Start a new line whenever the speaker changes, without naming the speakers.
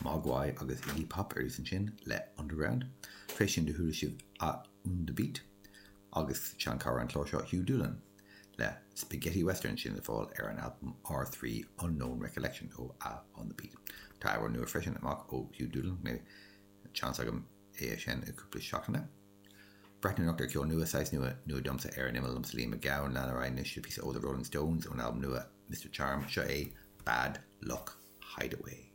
Mogwai agus Iggy Pop ar dtús ansin le Underground. Tar éis sin do chuala sibh A On The Beat agus seanchara an chláir seo Hugh Doolan le Spaghetti Western sin le fáil ar an albam R3 Unknown Recollection ó A On The Beat. Tá amhrán nua freisin amach ó Hugh Doolan, mbeidh seans agam é a sheinm i gcúpla seachtaine. Breathnú anocht ar cheol nua, saghas nua, nua domsa ar an imeall liomsa Liam Mac Gabhann, lean ar aghaidh anois le píosa ó The Rolling Stones ón albam nua Mr Charm, seo é Bad Luck Hideaway.